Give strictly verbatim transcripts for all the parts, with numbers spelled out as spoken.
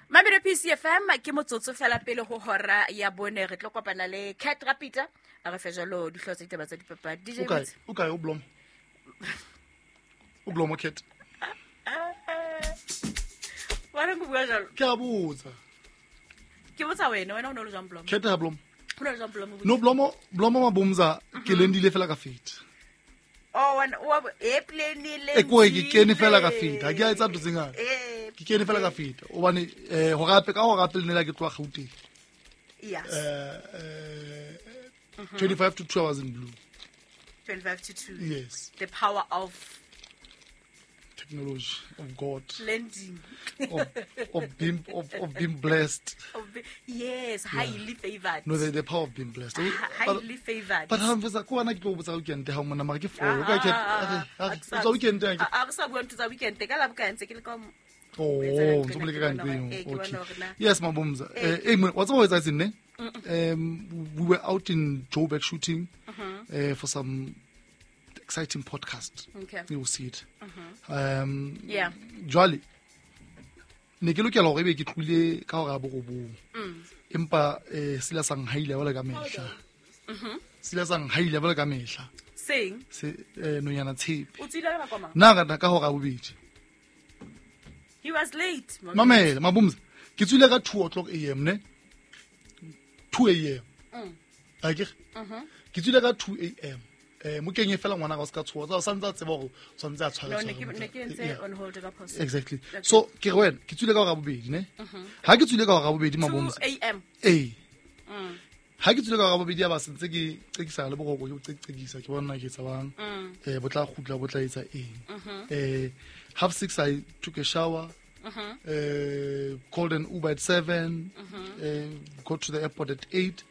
Mabelo P C F M ke motsotso fela pele ho hora ya bone re tlo kopana le Cat Rapita a re fe jalo dihlooho tsa ditaba tsa dipapadi. D J O kae? Boots. O kae o Blom? O Blom o Cat? Wa re bua jalo? Ke a botsa. Ke botsa wena, wena o no le jwang Blom? Cat ha Blom. O no le jwang Blom? No Blomo, Blomo Mabumza ke lendile fela ka feta. Oh, wena o e plane le. E ko ke kene fela ka feta. Ha ke a etsa ntho tse ngata. Eh. Ke kene fela ka feta. Hobane eh ho rape ka ho rape le nela ke tloha Gauteng. Yes. Eh, eh, twenty-five to two hours in blue. twenty-five to two. Yes. The power of technology, of God. Lending. Of, of being, of, of being blessed. Of be, yes, highly Yeah. favored. No, the, the power of being blessed. H-, highly favored. But ha mfetsa ko ana ke tlo botsa weekend ha mona mara ke four. Ah, O ka ke ah, ah, ah, ah, weekend ha ke. Ah, ah, re sa bua ntho tsa weekend ka la boka ntse ke le ka mo- Oh, Etsa ntse nqena le ke ka bona ntlo hore, eo. eh, ke Okay. bona hore na. Yes, Mabumza. Eh. Eh, eh, wa tseba ho etsa etseng ne? Mm-mm. Um, we were out in Joburg shooting, Mm-hmm. uh, for some exciting podcast. Okay. You will see it. Mm-hmm. Um, Yeah. Jwale, ne ke lokela hore ebe ke tlohile ka hora ya borobong. Mm. Empa, eh, sila sa nhaile jwale ka mehla. Mm-hmm. Sila sa nhaile jwale ka mehla. Seng? Se, eh, nonyana tshepe. O tswile ka nako mang? Nna ka ka hora ya bobedi. He was late, Mabumza. Mamela, Mabumza. Ke tswile ka two o'clock A M, ne? two A M. Mm. Akere? Mm-hmm. Ke tswile ka two A M. Eh, mo kenye fela ngwana ka o ska tshoha. O santse a tseba hore o tshwanetse a tshware No, ne tshware ke, ne ke entse Yeah. on hold ka phoso. Exactly. Okay. So, ke re wena, ke tswile ka hora ya bobedi, ne? Mm-hmm. Ha ke tswile ka hora ya bobedi, Mabumza. two A M. Ee. Mm. Ha ke tswile ka hora ya bobedi, ya ba sentse ke qekisa le boroko, ke bo qekisa, ke bona ke etsa bang. Mm. Eh, bo tla kgutla, bo tla etsa eng. Mm-hmm. Eh, half six I took a shower. Mm-hmm. Eh, called an Uber at seven. Mm-hmm. Eh, got to the airport at eight,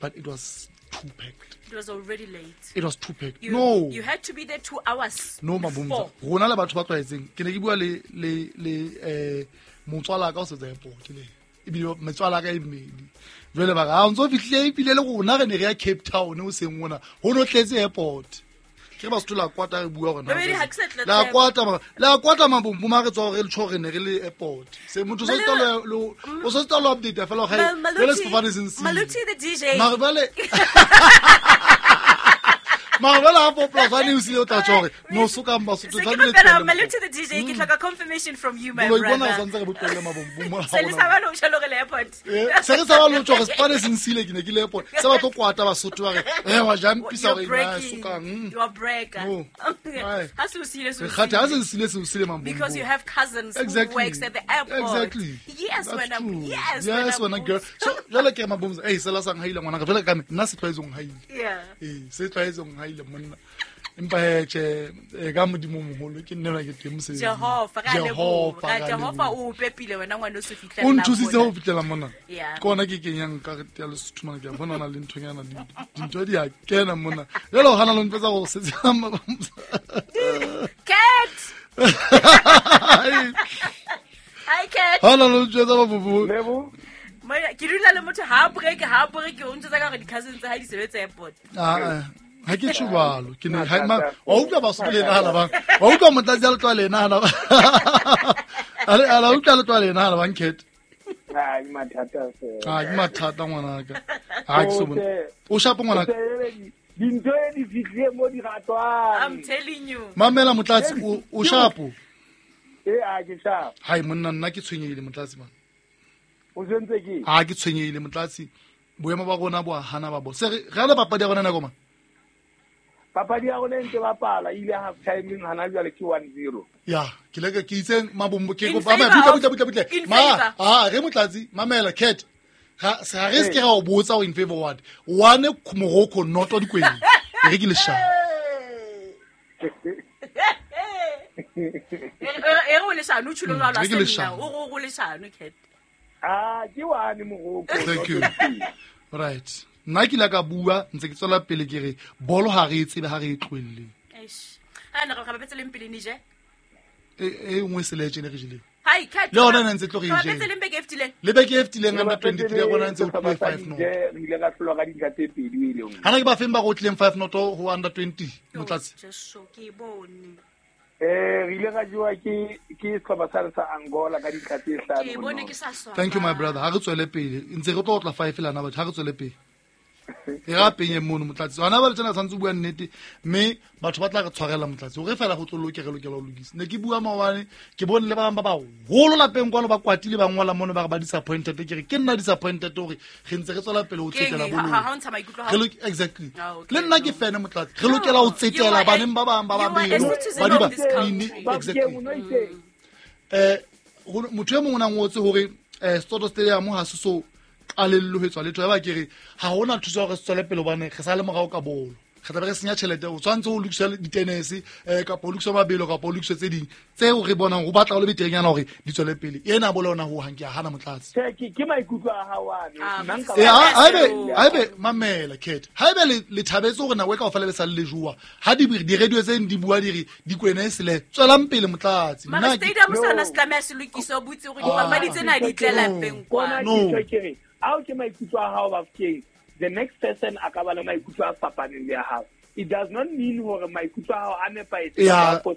but it was too packed. It was already late. It was too packed. You, No. You had to be there two hours. No, Mabumza. before. Rona le batho ba tlwaetseng. Ke ne ke bua le, le, le, eh, motswala ka o sebetsa airport le. Ebile metswala ka e mmedi. Jwale ba re, ha o ntso fihlile ebile le rona re ne re ya Cape Town o seng mona. Ho no tletse airport. Ke re ba Sotho la kwata re bua hore na Babedi, re ha ke sa tla La tseba. kwata ma, la kwata mabombo ma re tswa hore re tjho re ne re le airport. Se motho o so Malu- tla lo, o so tla lo update fela hore Mal-, jwale Maluti, sefofane se ntshile. Maluti the D J. Mara jwale Mara jwale ha four plus one o sile o tla tjho hore no sokang Basotho, Se ke tlamehile rapela, tlohelle Maluti mabombo. the D J, ke hloka confirmation from you, my Boloi bona brother. o santse re bo tlohelle mabombo mo Se le ha sa hona. ba lo tjho le airport. Eh, se re sa ba lo tjho hore sefofane se ntshile, ke ne ke le airport. Se ba tlo kwata Basotho ba re, eh, wa jumpisa You're hore na breaking. sokang, mm. You are breaker. No. Aye. Ha se o sile, se o Re kgathe, ha se sile. nsile, se o sile mabombo. Because you have cousins who Exactly. works at the airport. Exactly. Yes, That's when I'm, true. yes, Yes, when when I'm I'm girl. So, jwale ke re Mabumza, eh, sela sa nhaile ngwana ka, jwale ka me, nna se tlwaetse ho nhaile. Yeah. Eh, se tlwaetse ho nhaile monna. Empa he, tjhe, eh, ka Modimo o moholo, ke nne na ke teng mosebetsing. Jehova, ra leboha. Jehova, ra Jehova leboha. o pepile wena ngwana o se fihlela O nthusitse mona. ho fihlela mona. Yeah. Ke ona ke kenyang karete ya Lesotho mona, ke a bona ho na le nthonyana, di-, dintho di a kena mona. Jwale o hana le ntho tsa go setse Mabumza. Cat! Hi, Cat. Ha na le ntho tsa Mabumza. Lebo? Moya, ke dula le motho ha a break, ha a break, o ntse ka hore di-cousins tsa hae di sebetsa airport. Ah, ah. Ha ke tjho jwalo. Ke ne, ha, ma, wa utlwa Basotho le nahana bang? Wa utlwa motlatsi a le tloha le nahana ba? A le, a la utlwa le tloha le nahana bang, Cat? Ah, ke mathata fela. Ah, ke mathata ngwanaka. Ha ke so bone. O shapo ngwanaka. Dintho e di fihlile mo di ratwang. I'm telling you. Mamela motlatsi, o, o shapo. Eh, ah, ke shapo. Hai monna, nna ke tshwenyehile motlatsi man. O tshwentse ke? Ha ke tshwenyehile motlatsi. Boemo ba rona bo a hana ba bo. Se re, re ala papadi ya rona nako mang? Papadi ya rona e ntse bapala, e ile half timing hana jwale ke one zero. Ya, ke leka ke itse Mabombo ke In kopa, favor butle, of butle, butle, butle. In Ma, favor. ah, re motlatsi, mamela Cat. Ga, se ga re se ke ra o botsa o in favor what? One Morocco not o dikweng. Re ke leshano. E re o leshano, o tjholo jwalo, Re ke a se nna. leshano. O re o leshano, Cat. Ah, ke one Morocco. Thank you. Right. Nna ke ile ka bua ntse ke tswela pele ke re bolo ha re e tsebe ha re e tlohelle. Eish. Ha ne re re bapetse leng pele Niger? E, e nngwe e sele tjena re jeleng. Hai, Cat. Le yona ne ntse tlo re Re e bapetse jele. leng beke e fetileng? Le beke e fetileng Re under bapetse twenty-three ya rona ntse o le tlile sehlopha sa five nought. Niger, re ile ra hlolwa ka dintlha tse pedi o ile nngwe. Hana ke ba feng ba go tlileng five nought ho under twenty, Yo, Motlatsi? Jesu, ke e bone. Eh re ile ra jowa ke ke sehlopha sa sa Angola ka dintlha tse hlano. Ke bone ke sa swaba. Thank you my brother. Ha re tswele pele. Ntse re tlo tla five lana batho ha re tswele pele. E ra penye mono motlatsi. Hona ba le tsena tshwantse bua nnete mme batho ba tla re tshwarela motlatsi. Hore fela go tlo loke re lokela ho lokisa. Ne ke bua maobane ke bone le ba bang ba baholo lapeng kwano ba kwatile ba ngola mono ba re ba disappointed ke re ke nna disappointed hore re ntse re tswela pele ho tsetela bolo. Ha ha ntsha maikutlo ha. Exactly. Le nna ke fene motlatsi. Re lokela ho tsetela baneng ba bang ba babedi. Ba di ba exactly. Eh motho e mongwe o na ngotse hore eh Soto Stadium ha se so qalello ho tswa letho ya ba ke re ha hona thuso hore se tswele pele hobane re sa le morao ka bolo re tla be re senya tjhelete o tshwantse ho lokisa ditenese eh kapa ho lokisa mabelo kapa ho lokisa tse ding tseo re bonang ho batla ho le beterenyana hore di tswele pele ena bolo yona ho hang ke a hana motlatsi ke ke maikutlo a hao ano nna nka eh haebe haebe mamela Cat haebe le le thabetse hore nako e kaofela be sa le jowa ha di di radio tse di bua di re di kwena e sele tswelang pele motlatsi nna stadium sona se tlameha se lokise o butse hore dipapadi tsena di tlela peng kwa no ao ke maikutlo a hao Bafokeng the next person a ka ba le maikutlo a fapaneng le a hao. It does not mean hore maikutlo a hao a nepahetse kapa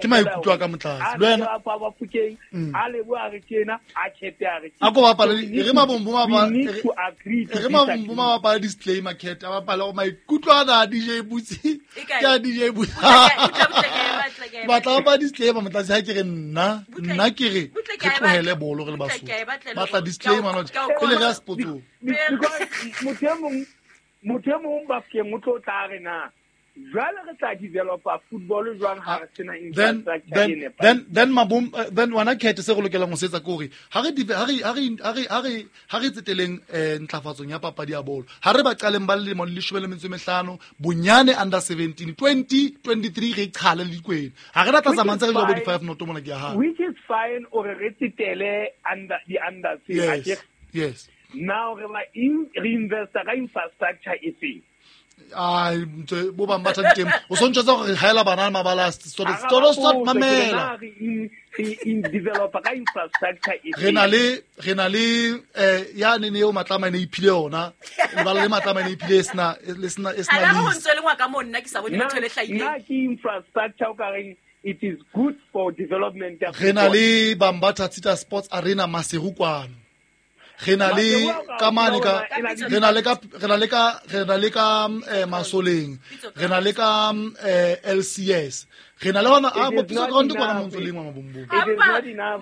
ke maikutlo a ka motlatsi le wena ba Bafokeng a lebo a re tjena a khete a re a ko bapala re mabombo ma re mabombo ma bapala disclaimer Cat a bapala go maikutlo a na D J Butsi ke a D J Butsi batla ba disclaimer motlatsi ha ke re nna nna ke re re tlohele bolo re le Basotho batla disclaimer not pele re a sportsong motho e mong motho e mong Bafokeng o tlo tla re na jwale re tla developa football jwang ha re sena infrastructure e nepahetseng. Then then mabom then wana Cat se re lokelang ho se etsa ke hore ha re ha re ha re ha re ha re ha re tseteleng ntlafatsong ya papadi ya bolo ha re ba qaleng ba lelemo le leshome le metso e mehlano bonyane under seventeen twenty twenty-three re qhale le dikwena ha re tla tsamaya ntse re jwa bo di-five noto mona ke ya ha which is fine ore re tsetele under the under yes yes now re ba reinvest ka infrastructure e feng ai ntse bo bang ba tla diteng o sontse tsa gore haela bana mabala story story stop mamela re in developer ka infrastructure e re na le re na le eh ya ne ne eo matlama ne iphile yona lebala le matlama ne iphile sena le sena e sena le ho ntse le ngwa ka mo nna ke sa bone ntho le hlahile na ke infrastructure o ka reng it is good for development of re na le Bambatha Tita Sports Arena Maseru kwano re na le ka mane ka re na le ka re na le ka re na le ka Masoleng re na le ka L C S re na le hona a bo Pitso Ground kwana montso lengwa mabombong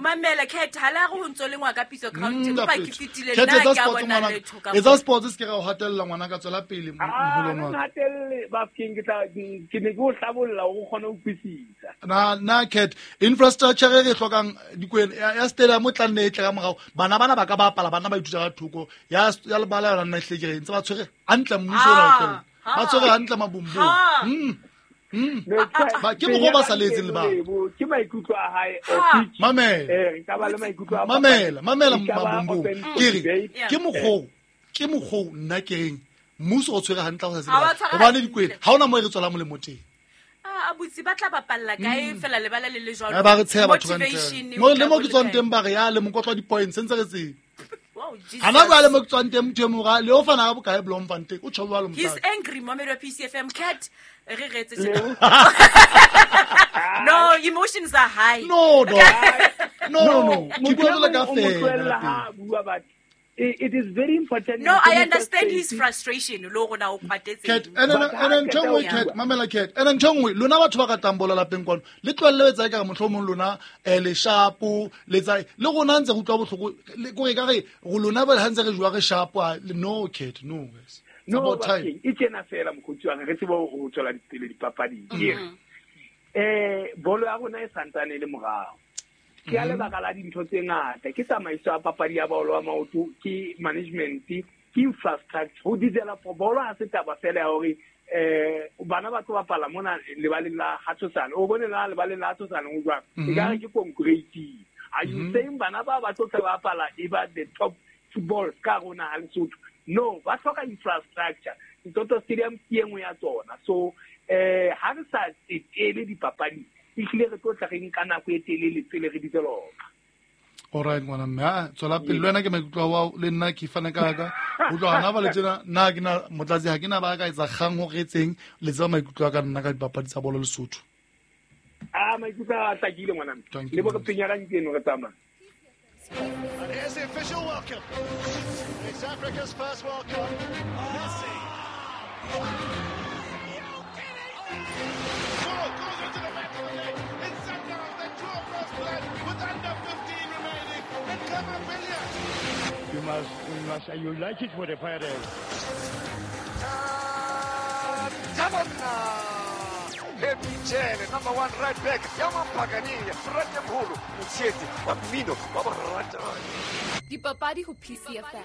mamela Cat hala re ho ntso lengwa ka Pitso Ground ba ke fitile nna ke a bona letho ka etsa sports se ke ra o hatella ngwana ka tswela pele moholong wa hatelle Bafokeng ke tla ke ne ke o hlabolla o kgone ho utlwisisa na na Cat infrastructure re hlokang dikwena ya stadium o tla nne e tle ka morao bana bana ba ka bapala bana ba ithuta ka thoko ya ya lebala yona nna hle ke re ntse ba tshwere hantle mmuso ona o tlohela ba tshwere hantle mabombong mm ba ke mo go ba saletseng le ba ke maikutlo a hae mamela eh ka ba le maikutlo a mamela mamela mabombong ke re ke mokgo ke mokgo nna ke reng mmuso o tshwere hantle go sa tsebe hobane dikwena ha ona mo e re tswela molemo teng a butsi ba tla bapalla kae fela lebala le le jwalo ba re tsheha batho ka ntle mo le mo ke tswang teng ba re ya le mokotlo wa di-points ntse re tsebe Wow, Jesus. Hana jwale mo ke tswang teng motho e mora le o fana ka bokae Bloemfontein o tjho jwalo He's motlatsi angry mommy wa P C F M Cat re re etse No emotions are high. No no no no no ke bua jwalo ka fela ha bua but it is very important. No, I understand his frustration lo rona o kwatetse Cat ene ene ntho nngwe Cat mamela Cat ene ntho nngwe lona batho ba ratang bola lapeng kwano le tlohelle etsa ka mohlomong lona eh le shapo le tsa le rona ntse re utlwa bohloko le kore ka re go lona ba ha ntse re jwa re shapo no Cat no guys no e tjena fela mokgotsi wa re tsebo ho tswela dipele dipapading ke eh bolo ya rona e santsane le morao ke a lebaka la dintho tse ngata ke tsamaiso ya papadi ya bolo ya maoto ke management ke infrastructure ho develop bolo ha se taba fela ya hore eh bana ba tlo bapala mona lebaleng la Hatsosane o bone la lebaleng la Hatsosane o jwang e ka re ke concrete are you saying bana ba ba tlo tla bapala e ba the top football ka rona ha Lesotho no ba hloka infrastructure Toto Stadium ke engwe ya tsona so eh ha re sa tsetele dipapadi ehlile re tlo tla re nka nako e telele pele re developa. All right ngwana mme a tswela pele le wena ke maikutlo a le nna ke fana ka ka ho tloha hana ba le tsena nna ke na motlatsi ha ke na ba ka etsa kgang ho retseng le tseba maikutlo a ka nna ka dipapadi tsa bolo Lesotho. A maikutlo a hlakile ngwana le bo re penya ka nteno re tsamaya. And here's the official welcome. It's Africa's first World Cup. Messi. Ball goes into the back of the net. It's Sundowns that draw first blood with under fifteen remaining. And Kamabilia. You must, you must unite it with the pirates. Emichele, number one right back, Yamampagani, Frate Mholo, Mtshetsi, wa mmino, wa borata. Dipapadi ho P C F M.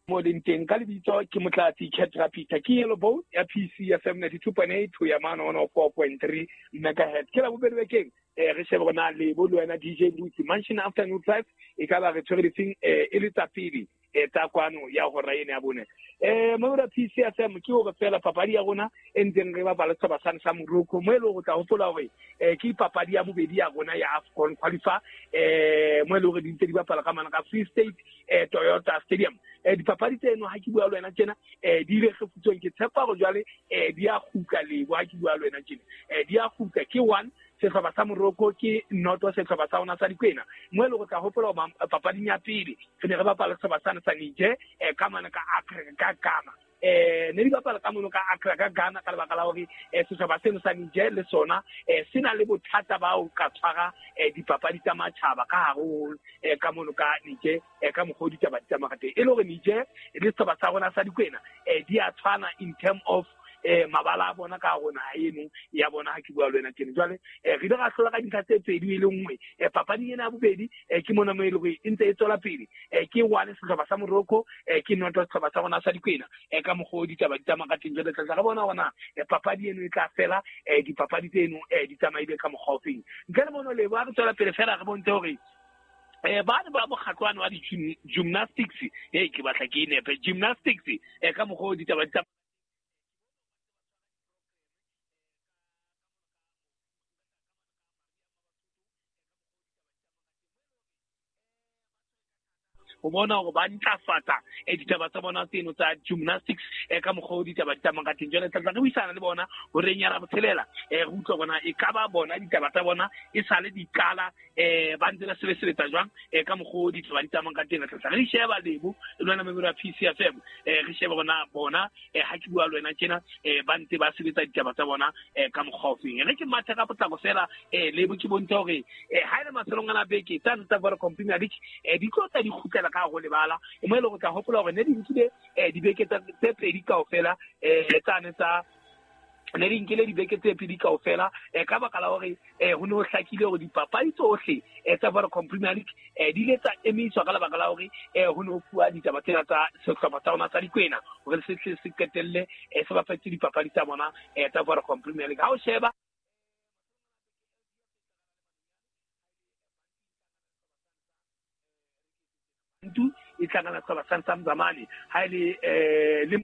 Mo leng teng ka lebitso ke Motlatsi Cat Rapita ke Yellow Boat ya P C F M ninety-two point eight ho ya mane one oh four point three megahertz. Ke la bobedi bekeng eh re shebe rona le bo le wena D J Lutsi Mansion Afternoon Drive e ka ba re tshwere difeng eh e le tsa pele e tsa kwano ya hora ena ya bone. Eh mo ra P C F M ke hore fela papadi ya rona e ntseng re bapala setjhaba sa sa Morocco mo e le hore tla hopola hore eh ke papadi ya bobedi ya rona ya AFCON qualifier eh mo e le hore di ntse di bapala ka mana ka Free State eh Toyota Stadium. Eh dipapadi tseno ha ke bua le wena tjena eh di ile kgefutsweng ke tshepa hore jwale eh di a kgutla lebo ha ke bua le wena tjena eh di a kgutla ke one sehlopha sa Morocco ke noto sehlopha sa rona sa Dikwena mo e le hore tla hopola hore papading ya pele re ne re bapala sehlopha sa sa Niger eh ka mana ka Accra ka Ghana eh ne di bapala ka mono ka Accra ka Ghana ka lebaka la hore eh sehlopha seno sa Niger le sona eh se na le bothata ba ho ka tshwara eh dipapadi tsa matjhaba ka hare ho eh ka mono ka Niger eh ka mokgwa o ditaba di tsamaya ka teng e le hore Niger le sehlopha sa rona sa Dikwena eh di a tshwana in term of eh mabala a bona ka rona eno ya bona ha ke bua le wena tjena jwale eh re ile ra hlola ka dintlha tse pedi e le nngwe eh papadi ena ya bobedi eh ke mona mo e le hore e ntse e tswela pele eh ke one sehlopha sa Morocco eh ke noto sehlopha sa rona sa Dikwena eh ka mokgwa o ditaba di tsamaya ka teng jwale tla re bona hore eh papadi eno e tla fela eh dipapadi tseno eh di tsamaile ka mokgwa o feng ntle le mono le ba re tswela pele fela re bontshe hore eh ba ne ba mokgatlwana wa di gymnastics eh ke batla ke nepe gymnastics eh ka mokgwa o ditaba di o bona hore ba ntlafatsa e ditaba tsa bona tseno tsa gymnastics e ka mokgwa o ditaba di tsamaya ka teng jwale tla re buisana le bona hore nyana botshelela e re utlwa bona e ka ba bona ditaba tsa bona e sale di qala eh ba ntse ba sebetsa jwang e ka mokgwa o ditaba di tsamaya ka teng tla re sheba lebo le wena member ya P C F M eh re sheba bona bona eh ha ke bua le wena tjena eh ba ntse ba sebetsa ditaba tsa bona eh ka mokgwa o feng re ke matha ka potlako fela eh lebo ke bontsha hore eh ha ile mafelong ana beke tsa ntse ba re Premier League eh di tlo tsa di kgutlela ka go lebala mo e le go tla hopola hore ne di nkile eh dibeke tse pedi kaofela eh tsane tsa ne di nkile dibeke tse pedi kaofela eh ka baka la hore eh ho ne ho hlakile hore dipapadi tsohle eh tsa Vodacom Premier League eh di ile tsa emiswa ka lebaka la hore eh ho ne ho fuwa ditaba tsena tsa sehlopha tsa rona tsa Dikwena hore se se se qetelle eh se bapetse dipapadi tsa bona eh tsa Vodacom Premier League ha o sheba ntu e tlangana sehlopha sa sa Mzamani ha ile eh le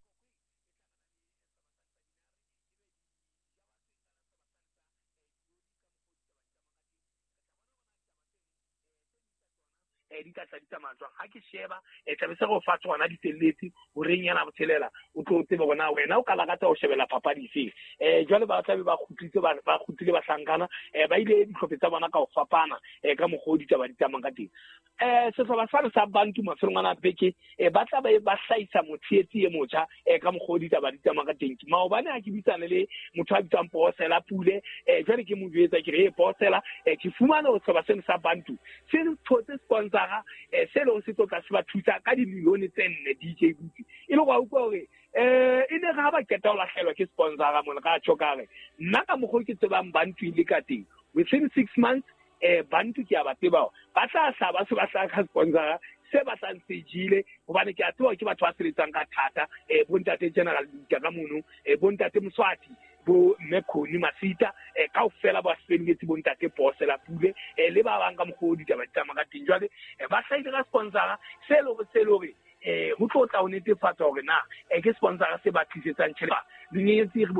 di tla tla di tsamaya jwang ha ke sheba e tla be se go fa tsona di felletse hore nyana botshelela o tlo tsebe bona wena o ka lakatsa ho shebela papadi efe eh jwale ba tla be ba kgutlitse ba ba kgutlile ba hlankana eh ba ile dihlophe tsa bona ka ho fapana eh ka mokgwa o ditaba di tsamayang ka teng eh sehlopha sa sa Bantu mafelong ana beke eh ba tla ba ba hlahisa motshehetsi e motjha eh ka mokgwa o ditaba di tsamaya ka teng maobane ha ke bitsane le motho a bitswang Posela Pule eh jwale ke mo jwetsa ke re Posela eh ke fumana ho sehlopha seno sa Bantu se thotse sponsor eh se le se tlo tla se ba thusa ka dimilione tse nne D J Butsi e le go utlwa hore eh e ne ga ba qeta ho lahlelwa ke sponsor mona ka tjho ka re nna ka mokgwa ke tsebang Bantu ile ka teng within six months eh Bantu ke a ba tseba ba tla hla ba se ba hla ka sponsor se batlang se jile hobane ke a tseba ke batho ba sebetsang ka thata eh bontate General Luka ka mono eh bontate Mswati bo Mkhoni Masita eh kaofela ba sebeletse bontate Posela Pule eh le ba bang ka mokgwa o ditaba di tsamaya ka teng jwale ba hlahile ka sponsor se le hore se le hore eh ho tlo tla ho netefatsa hore na eh ke sponsor se ba tlisetsang tjhelete dinyenyetsi re